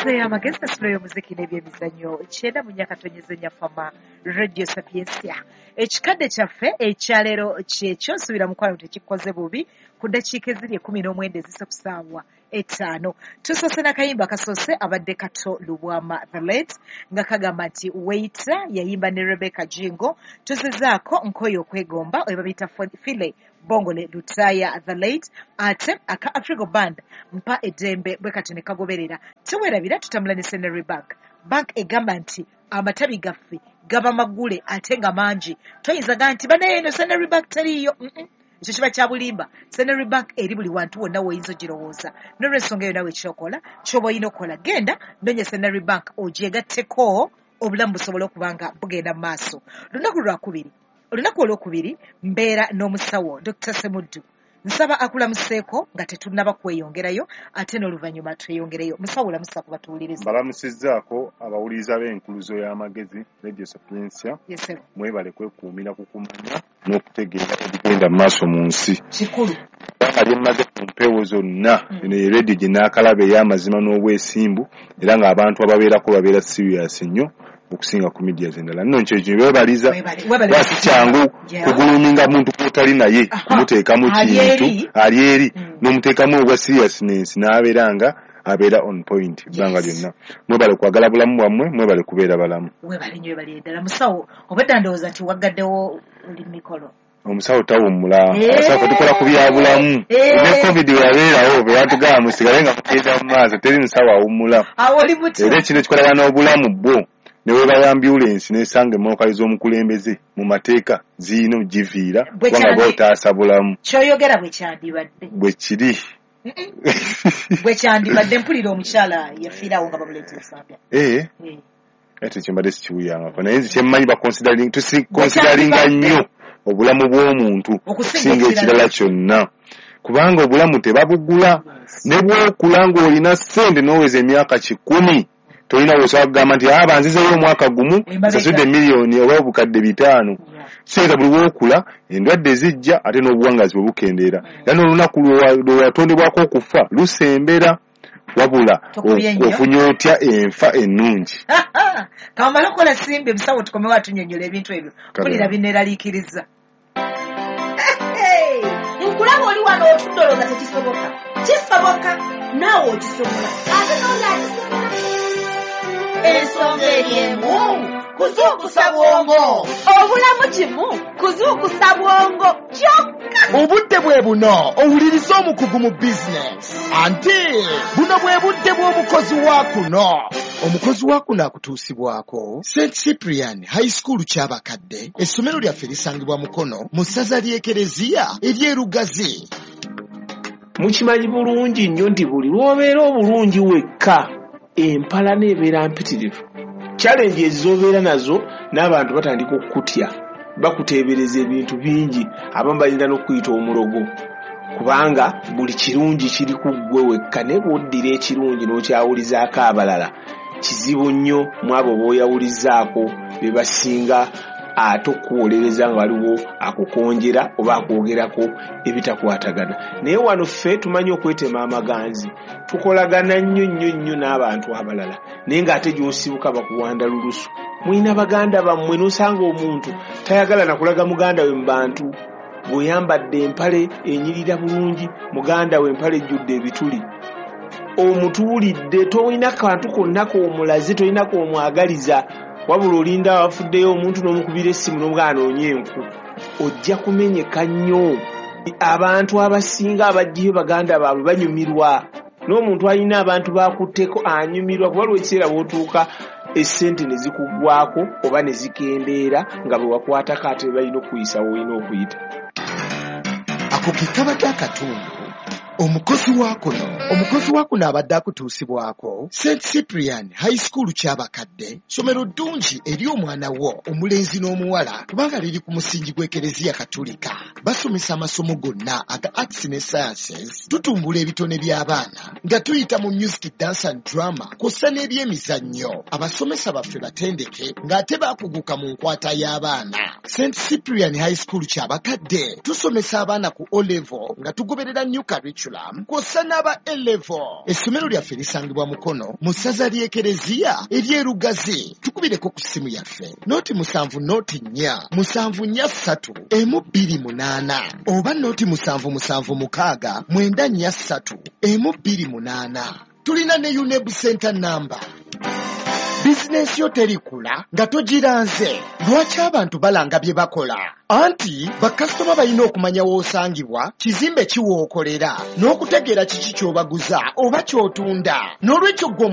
Enkuluze y'amagezi, essula y'omuziki n'ebyemizannyo, 94.4 Fama Radio Sapiensia. Ekikadde kyaffe ekyaleero kyekyo. Nsuubira mukwano tekikoze bubi. Ku ddakiika eziri 19 ezise ku ssaawa 5, tusoose n'akayimba kasoose, abadde Kato Lubwama the late, nga kagamba nti "Waiter", yayimba ne Rebecca Jingo. Tuzizaako "Nkoyo Okwegomba", oyo babiyita Philly Bongole Lutaaya the late, ate aka Afrigo Band "Mpa Eddembe", bwe kati ne kagoberera. Teweerabira, tutambula ne Centenary Bank. Bank egamba nti amatabi gaffe gaba maggule ate nga mangi. Toyinza ga nti banaye eno Centenary Bank teriiyo. Ekyo kiba kya bulimba. Centenary Bank eri buli wantu wonna woyinza ogirowooza. N'olwensonga eyo, nawe kyokola kyoba olina okukola, genda nonya Centenary Bank ogyegatteko, obulamu busobole okuba nga bugenda mu maaso. Lunaku lwakubiri, olunaku olwokubiri mbeera n'omusawo Dr Semuddu. Nsaba akulamuseeko nga tetunnaba kweyongerayo, ate n'oluvannyuma tweyongereyo. Musawo, olamusa ku batuwuliriza. Mbalamusizzaako abawuliriza b'Enkuluzo y'Amagezi, Radio Sapiensia. Yes, sir. Mwebale kwekuumira ku kumanya n'okutegeera ebigenda mu maaso mu nsi. Kikulu. Kubanga lyemmaze ku mpewo zonna, eno ye radio gye naakalaba ey'amazima n'obwesimbu, era ng'abantu ababeerako babeera serious nnyo okusinga ku media endala. Nno nkyo beebaliza. Webale, webale. Kuba si kyangu kuguluminga muntu gw'otali naye, kumuteekamu Ali kintu eri. Ali eri n'omuteekamu obwa seriousness n'abeera nga abeera on point ebbanga lyonna. Mwebale kwagala bulamu bwammwe, mwebale kubeera balamu. Webale nnyo, webale ddala musawo. Obadda ndowooza nti waggaddewo oli mikolo. Omusawo tawummula. Abasawo fe tukola ku byabulamu. Ne COVID bwe yabeerawo, bwe batugamba musigale nga mugenda mu maaso, teri musawo awummula. Awo oli muti. Era ekintu ekikolagana n'obulamu bwo, ne weba ambulensi nesanga emmotoka z'omukulembeze, mu mateeka ziyina ogiviira, Bwe kubanga bwotaasa bulamu. Kyoyogera bwe kyandibadde. Bwe kiri. Bwe kyandibadde. Mpulira omukyala yafiirawo nga bamuleeta Ensambya. Ate ekyo mbadde sikiwuyangako, naye nze kyemmanyi tusiconsideringa nnyo obulamu bw'omuntu okusinga okusinga ekirala kyonna, kubanga obulamu tebabugula. Ne bwokula ng'olina ssente n'oweza emyaka 100, tolina wosobola kugamba nti aba nzizeyo omwaka gumu Emabega. nsasudde miliyoni oba 500,000. Kitegeeza buli lwokula endwadde zijja, ate n'obuwangazi bwe bukendeera, era n'olunaku lwe watondebwako okufa lusembera. Wabula Tokubye nnyo. ofunye otya enfa ennungi? Kamale okukola simbi, musawo, tukomewo atunyonyola ebintu ebyo. Kale. Mpulira bineeraliikiriza. Nkulaba oli wano otudde olowooza tekisoboka. Kisoboka, naawe okisobola, ate n'oli akisobola. Ensonga eri emu, kuzuukusa bwongo. Obulamu kimu kuzuukusa bwongo kyokka. Obudde bwe buno owuliriza omukugu mu bizinesi, anti buno bwe budde bw'omukozi wa kuno. Omukozi wa kuno akutuusibwako St Cyprian High School Kyabakadde. Essomero lyaffe lisangibwa Mukono, mu ssaza ly'Ekereziya ery'Erugazi. Mukimanyi bulungi nnyo nti buli lw'obeera obulungi wekka, empalana ebeera mpitirivu. Challenge ez'obeera nazo, n'abantu batandika okukutya, bakuteebereza ebintu bingi, abamu bayinza n'okuyita omulogo, kubanga buli kirungi kiri ku ggwe wekka. Naye bw'oddira ekirungi n'okyawulizaako abalala, kizibu nnyo mu abo b'oyawulizaako be basinga ate okukuwolereza nga waliwo akukonjera oba akwogerako ebitakwatagana. Naye wano ffe tumanyi okwetema amaganzi, tukolagana nnyo nnyo nnyo n'abantu abalala, naye ng'ate gy'osibuka bakuwanda lulusu. Mulina baganda bammwe, n'osanga omuntu tayagala nakulaga muganda we mu bantu. Bw'oyambadde empale enyirira bulungi, muganda we empale ejjudde ebituli, omutuulidde, tolina kantu konna k'omulaze, tolina k'omwagaliza, wabula olinda wafuddeyo omuntu n'omukubira essimu n'omugaa anoonye enku. Ojja kumenyeka nnyo. Abantu abasinga abajjayo baganda baabwe banyumirwa, n'omuntu alina abantu bakutteko anyumirwa, kuba lwa ekiseera bw'otuuka essente ne zikuggwako oba ne zikendeera nga bwe wakwatako, ate balina okukuyisa woolina okuyita. Ako ke kabadde akatundu omukozi wa kuno. Omukozi wa kuno abadde akutuusibwako St Cyprian High School Kyabakadde. Ssomero ddungi eri omwana wo omulenzi n'omuwala, kubanga liri ku musingi gw'Ekereziya Katulika. Basomesa amasomo gonna aga arts ne sciences. Tutumbula ebitone by'abaana nga tuyita mu music, dance and drama, kw'ossa n'ebyemizannyo. Abasomesa baffe batendeke ng'ate baakuguka mu nkwata y'abaana. St Cyprian High School Kyabakadde, tusomesa abaana ku O level nga tugoberera new curriculum. curriculum kw'ossa n'aba A-level. Essomero lyaffe lisangibwa Mukono mu ssaza ly'Ekereziya ery'Erugazi. Tukubireko ku ssimu yaffe 0 7 0 4 7 4 3 1 2 8 oba 0 7 7 6 9 4 3 1 2 8. Tulina ne UNEB center number. Bizinensi yo terikula nga togiranze. Lwaki abantu balanga bye bakola? Anti bakasitoma balina okumanya w'osangibwa, kizimbe ki w'okolera, n'okutegeera kiki ky'obaguza oba ky'otunda. N'olwekyo gwe